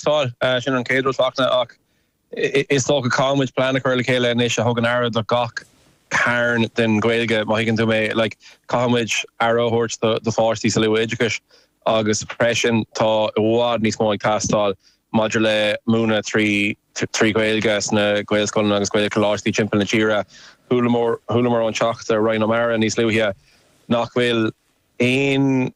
teastáil, sin an chéad rud, Fachtna, ach is dócha caithfidh muid plean a chur le chéile anois a thugann aire do gach cearn den Ghaeilge, má thuigeann tú mé. Like, caithfidh muid aire a thabhairt do do pháistí sa luath-oideachais agus freisin tá i bhfad níos mó ag teastáil maidir le múineadh 3 Ghaeilge sna Gaelscoileanna agus Gaelcholáistí timpeall na tíre. Chualamar chualamar ón Teachta Ryan O'Meara níos luaithe nach bhfuil aon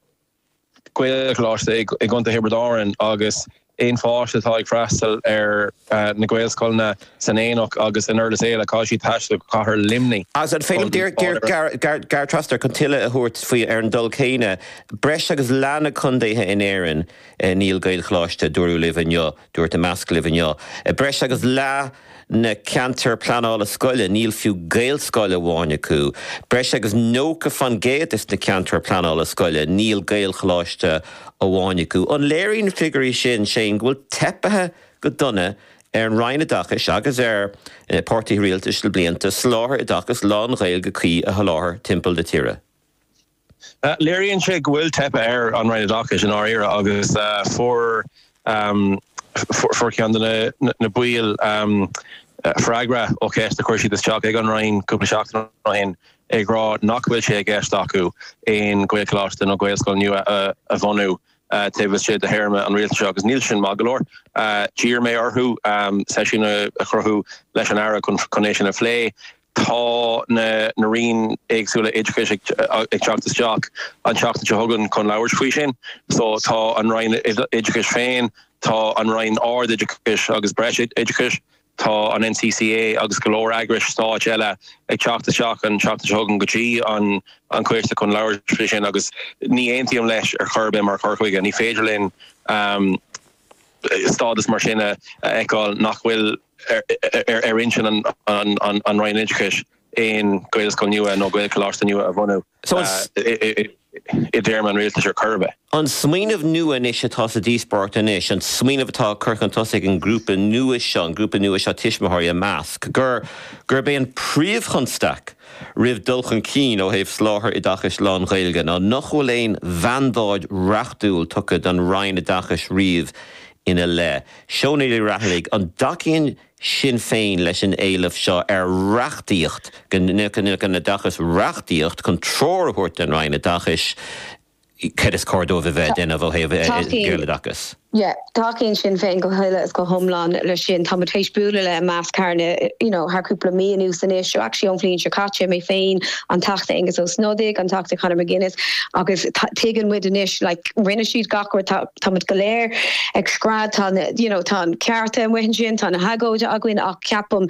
Gaelcholáiste i gContae Thiobraid Árann agus aon pháiste atá ag freastal ar na Gaelscoileanna san Aonach agus in Iorras Éile, caithfidh siad taisteal go cathair Luimnigh Agus an féidir liom díreach gearr trasna chun tuilleadh a thabhairt faoi ar an dul céanna, breis agus leath na contaetha in Éirinn níl Gaelcholáiste, dúradh libh inniu. Dúirt Imeasc libh inniu. I breis agus leath na ceantar pleanála scoile níl fiú Gaelscoil amháin acu. Breis agus 90% des na ceantair pleanála scoile níl Gaelcholáiste amháin acu. An léiríonn na figiúirí sin, Shane, go bhfuil teipithe go dona ar an Roinn Oideachais agus ar na páirtithe rialtais le blianta soláthar oideachais lán-Ghaeilge cuí a sholáthar timpeall na tíre? Léiríonn sé go bhfuil teipthe ar an Roinn Oideachais i ndáiríre agus fuair fuair ceann de na baill freagra ó cheist a chuir siad isteach ag an Roinn cúpla seachtain ó shin ag rá nach bhfuil sé i gceist acu aon Ghaelcholáiste nó Gaelscoil nua a bhunú taobh istigh de théarma an rialtais seo agus níl sin maith go leor. D'iarr mé orthu seisiún a chruthú leis an Aire chun é sin a phlé. Tá na na Roinn éagsúla oideachais ag teacht isteach an tseachtain seo chugainn chun labhairt faoi sin. So tá an Roinn Oideachais féin, tá an Roinn Ard-Oideachais agus Breis-Oideachais, tá an NCCA agus go leor eagrais stáit eile ag teacht isteach an tseachtain seo chugainn go dtí an an coiste chun labhairt faoi sin agus ní aontaím leis ar chor ar bith mar chur chuige. Ní féidir linn stádas mar sin a fheiceáil nach bhfuil ar intinn an Roinn Oideachais aon Ghaelscoil nua nó Gaelcholáiste nua a bhunú i dtéarma an rialtais ar chor ar bith. An smaoineamh nua anois atá sa díospóireacht anois, an smaoineamh atá curtha chun tosaigh ag an ngrúpa nua seo, an grúpa nua seo tuismitheoirí Imeasc, gur gurb é an príomhchonstaic roimh dul chun cinn ó thaobh soláthar oideachais lán-Ghaeilge ná nach bhfuil aon mhandáid reachtúil tugtha don Roinn Oideachais riamh ina leith. Shónagh Ní Raghallaigh, an dtacaíonn Sinn Féin leis an éileamh seo ar reachtaíocht, go ndéanfadh an Oideachas reachtaíocht chun treoir a thabhairt don Roinn Oideachais céard is cóir dóibh a bheith ag déanamh ó thaobh Gaeloideachas? Yeah, tacaíonn Sinn Féin go huile is go hiomlán leis sin. Tá muid théis bualadh le Imeasc thar na, you know, thar cúpla mí anuas anois, so actually ón bhliain seo caite, mé féin, an Teachta Aengus Ó Snodaigh, an Teachta Conor McGuinness agus tuigeann muid anois, like, rinne siad gach rud, tá, Tá muid go léir ag scread, tá na, you know, tá an cearta amuigh ansin, tá na hagóide againn ach ceapaim,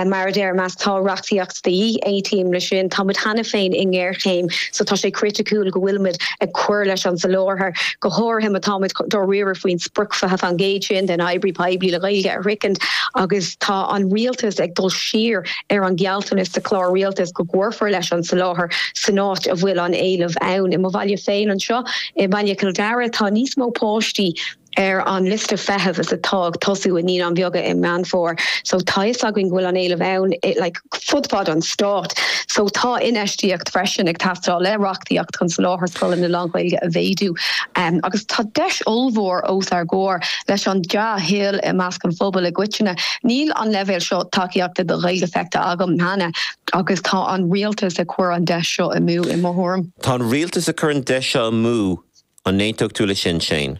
mar a deir Imeasc, tá reachtaíocht de dhíth, aontaím leis sin. Tá muid cheana féin i ngéarchéim so tá sé criticiúil go bhfuil muid ag cur leis an soláthar, go háirithe má tá muid dáiríre faoin sprioc 20% sin den oibrí poiblí le Gaeilge a shroichint agus tá an rialtas ag dul siar ar an ghealltanas sa chlár rialtais go gcuirfear leis an soláthar san áit a bhfuil an éileamh ann. I mo bhaile féin anseo, I mbaile Chill Dara, tá níos mó páistí ar an liosta feithimh is atá ag tosú i Naíonáin Bheaga i Meán Fómhair. So tá fhios againn go bhfuil an éileamh ann like fud fad an stáit. So tá infheistíocht freisin ag teastáil le reachtaíocht chun soláthar scoileanna lán-Ghaeilge a mhéadú. Agus tá deis ollmhór os ár gcomhair leis an dea-thoil i measc an phobail i gcoitinne. Níl an leibhéal seo tacaíochta do Ghaeilge feicthe agam cheana agus tá an rialtas ag cur an deis seo amú i mo thuairim. Tá an rialtas ag cur an deis seo amú, an n-aontódh tú leis sin, Shane?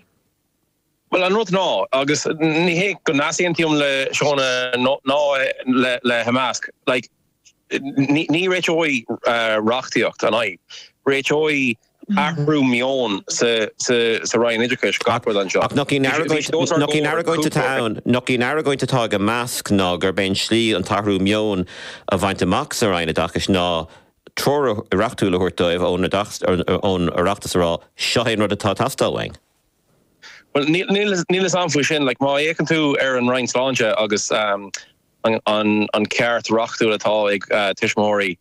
Bhuel, an rud ná, agus ní hé go n-easaontaím le Shóna ná le hImeasc, like, ní réiteoidh reachtaíocht an fhadhb. Réiteoidh athrú meoin sa Roinn Oideachais gach rud anseo. Ach nach í an argóint atá ann, nach í an argóint atá ag Imeasc ná gurb é an slí an t-athrú meoin a bhaint amach sa Roinn Oideachais ná treoir reachtúil a thabhairt dóibh ón Oireachtas a rá, seo é an rud atá ag teastáil uainn. Bhuel, níl a fhios agam faoi sin. Like, má fhéachann tú ar an Roinn Sláinte agus an ceart reachtúil atá ag tuismitheoirí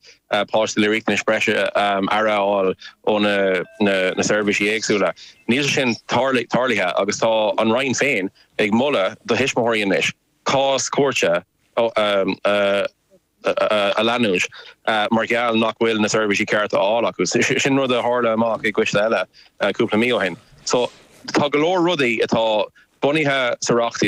páistí le riachtanais breise aire a fháil ó na seirbhísí éagsúla, níl sé sin tarlaithe agus tá an Roinn féin ag moladh do thuismitheoirí anois cás cúirte a a leanúint mar gheall nach bhfuil na seirbhísí cearta á fháil acu. Sin rud a tharla amach i gcoiste eile cúpla mí ó shin. So tá go leor rudaí atá. bunaithe sa reachtaíocht.